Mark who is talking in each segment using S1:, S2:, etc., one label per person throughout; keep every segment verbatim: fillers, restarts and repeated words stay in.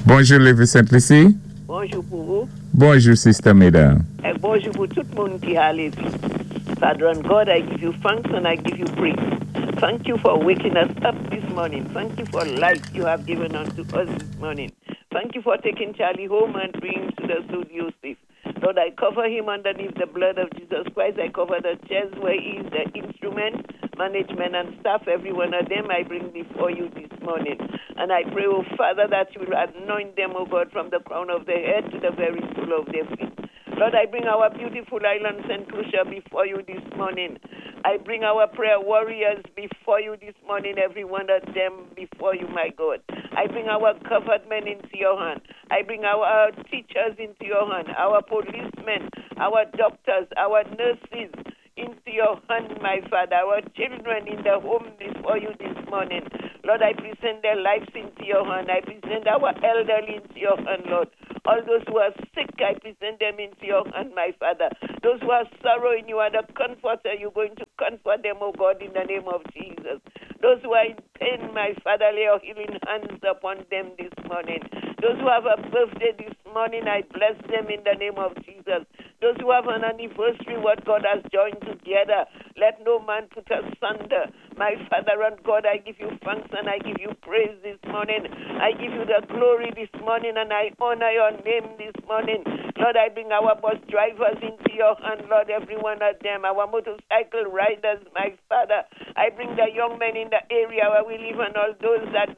S1: Bonjou, Lévis Sainte-Lucie.
S2: Bonjou pou wou.
S1: Bonjou, Sister Meda.
S2: É bonjou pou tout moun ki a Lévis. Father and God, I give you thanks and I give you praise. Thank you for waking us up this morning. Thank you for life you have given unto us this morning. Thank you for taking Charlie home and bringing him to the studio safe. Lord, I cover him underneath the blood of Jesus Christ. I cover the chairs where he is, the instrument, management, and staff, every one of them I bring before you this morning. And I pray, oh Father, that you will anoint them, oh God, from the crown of their head to the very sole of their feet. Lord, I bring our beautiful island, Saint Lucia, before you this morning. I bring our prayer warriors before you this morning, every one of them before you, my God. I bring our government into your hand. I bring our teachers into your hand, our policemen, our doctors, our nurses into your hand, my Father, our children in the home before you this morning. Lord, I present their lives into your hand. I present our elderly into your hand, Lord. All those who are sick, I present them into your hand, my Father. Those who are sorrowing, you are the comforter. You're going to comfort them, oh God, in the name of Jesus. Those who are in pain, my Father, lay your healing hands upon them this morning. Those who have a birthday this morning, I bless them in the name of Jesus. Those who have an anniversary, what God has joined together, let no man put asunder. My Father and God, I give you thanks and I give you praise this morning. I give you the glory this morning and I honor your name this morning. Lord, I bring our bus drivers into your hand, Lord, every one of them, our motorcycle riders, my Father. I bring the young men in the area where we live and all those that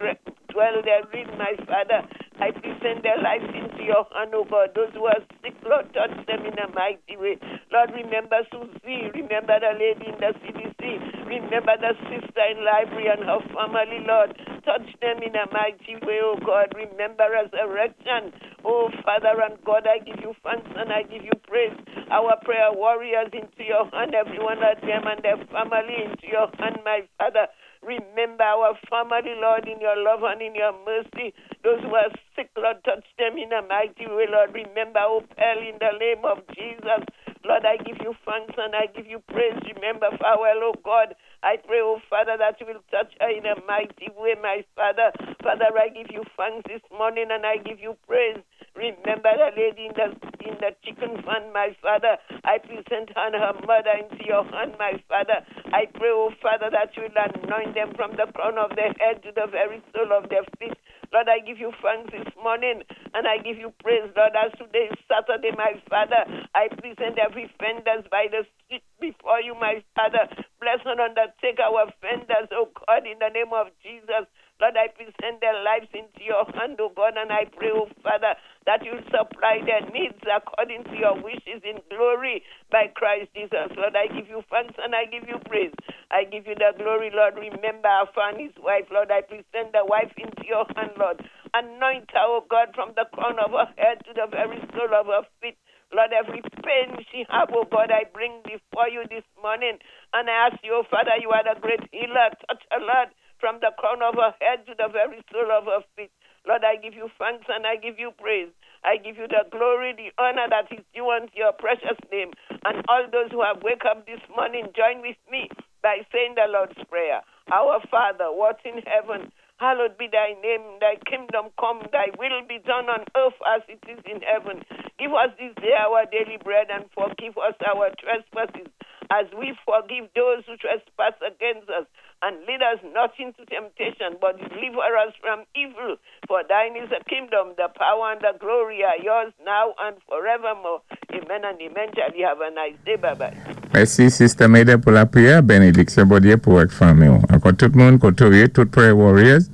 S2: dwell therein, my Father. I present their lives into your hand, oh God. Those who are sick, Lord, touch them in a mighty way. Lord, remember Susie. Remember the lady in the C D C. Remember the sister in library and her family, Lord. Touch them in a mighty way, oh God. Remember resurrection. Oh, Father and God, I give you thanks and I give you praise. Our prayer warriors into your hand, every one of them and their family into your hand, my Father. Remember our family, Lord, in your love and in your mercy. Those who are sick, Lord, touch them in a mighty way, Lord. Remember Opel in the name of Jesus. Lord, I give you thanks and I give you praise. Remember Farewell, oh God. I pray, oh Father, that you will touch her in a mighty way, my Father. Father, I give you thanks this morning and I give you praise. Remember the lady in the in the chicken van, my Father. I present her and her mother into your hand, my Father. I pray, oh Father, that you will anoint them from the crown of their head to the very sole of their feet. Lord, I give you thanks this morning and I give you praise, Lord, as today is Saturday, my Father. I present every vendors by the street before you, my Father. Bless and undertake our vendors, oh God, in the name of Jesus. Lord, I present their lives into your hand, oh God, and I pray, oh Father, that you supply their needs according to your wishes in glory by Christ Jesus. Lord, I give you thanks and I give you praise. I give you the glory, Lord. Remember our and his wife, Lord. I present the wife into your hand, Lord. Anoint her, oh God, from the crown of her head to the very sole of her feet. Lord, every pain she have, oh God, I bring before you this morning. And I ask you, oh Father, you are the great healer. Touch her, Lord, from the crown of her head to the very sole of her feet. Lord, I give you thanks and I give you praise. I give you the glory, the honor that is due unto your precious name. And all those who have wake up this morning, join with me by saying the Lord's Prayer. Our Father, what in heaven, hallowed be thy name, thy kingdom come, thy will be done on earth as it is in heaven. Give us this day our daily bread and forgive us our trespasses as we forgive those who trespass against us. And lead us not into temptation, but deliver us from evil. For thine is the kingdom, the power, and the glory are yours now and forevermore. Amen and amen. Charlie, have a nice day. Bye bye.
S1: Mèsi, Sister Maida, pou lapriyè. Bénédiksyon Bondyé pou ak fanmi. Ankò tout moun, kotoye, tout prayer warriors.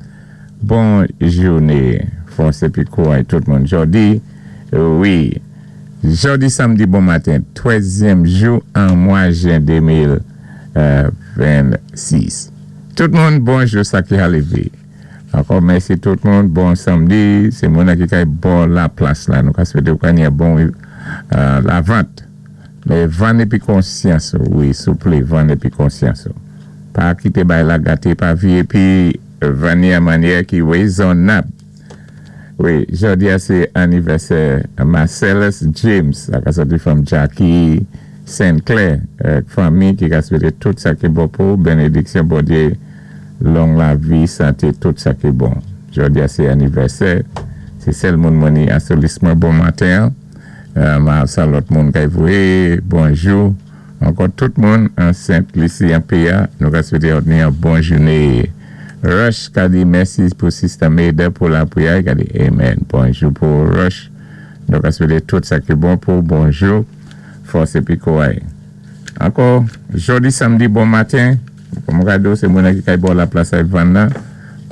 S1: Bon jouné. Fòs épi kouray tout moun. Jòdi, wi. Jòdi samdi bon maten, twèzyèm jou an mwa jen de mil vennsis. Tout moun, bonjou sa ki ale. Ankò mèsi tout moun, bon samdi, sé moun ki kay bon la plas la, nou ka swété ou ka bon euh, lavant. Mé vann épi konsyans, wi, souplé, vann épi konsyans. Pa kité bay la gaté, pa vi épi vann an mannyè ki wézonnab. Wi, jòdi a sé anivèsè Marcellus James, sa ka sòti from Jackie Saint Clair, euh, fanmi ki ka swété tout sa ki bon pou, bénédiksyon Bondyé, long lavi, santé, tout sa ki bon. Jòdi a sé anivèsè, Sé sèl moun mwen ni asou lis mwen bon maten. Euh, sa lòt moun kay voyé, bonjou. Ankò tout moun an Sent Lisi an P A, nou ka swété ni yon bon jouné. Rush ka di mèsi pou Sister Maida pou lapriyè, ka di amen. Bonjou pou Rush. Nou ka swété tout sa ki bon pou bonjou. Fòs épi kouway. Ankò, jodi samdi bon maten. Kòm gado, sé moun ki kay bò la plas ay vann la.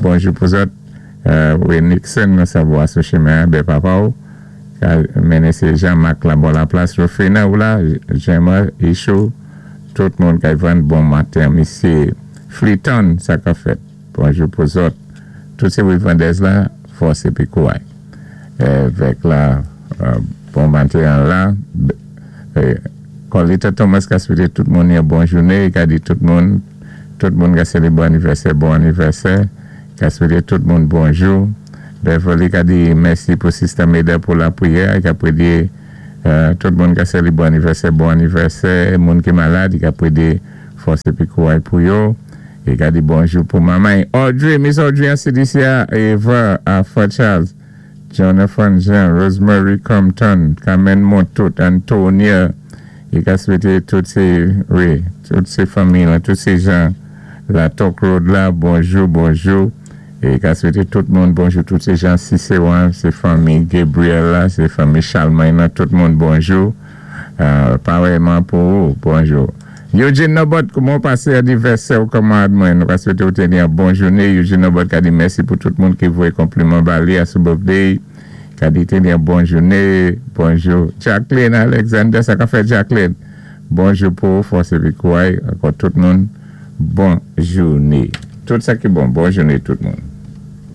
S1: Bonjou pou zòt. Euh, wi, Nixon, nou savwa sou chimen, bé papa ou. Mennen sé Jean-Marc la bò la plas. Rofena ou la, Jema, Isho, tout moun kay vann bon maten. Misyé Fleeton, sa ka fèt. Bonjou pou zòt. Tout sé vandèz la, fòs épi kouway. Vèk la, bon maten la. Colita Thomas ka swété tout moun yon bon jouné, ka di tout moun, tout moun ka sélébwé anivèsè, bon anivèsè, ka swété tout moun bonjou. Beverly ka di mèsi pou Sister Maida pou lapriyè, ka prédé tout moun ka sélébwé anivèsè, bon anivèsè, moun ki malad, ka prédé fòs épi kouway pou yo. É ka di bonjou pou manman. Audrey, Miss Audrey an C D C, Eva, Alpha Charles, Jonathan Jean, Rosemary Compton, Carmen Montout, Antonia, i ka swété tout sé, wi, tout sé fanmi la, tout sé jan, la Talk Road la, bonjou, bonjou. É ka swété tout moun bonjou, tout sé jan Cicéron, sé fanmi Gabriel la, sé fanmi Charlemagne, tout moun bonjou. Euh, parèyman pou ou, bonjou. Eugene Nobot, kouman pasé anivèsè ou kòman mwen, nou ka swété ou téni yon bon jouné. Eugene Nobot ka di mèsi pou tout moun ki voyé konpliman ba li a sou birthday. Ka di téni yon bon jouné, bonjou. Jacqueline Alexander, sa ka fèt, Jacqueline? Bonjou pou fòs épi kouway, ankò tout moun, bon jouné. Tout sa ki bon, bon jouné tout moun.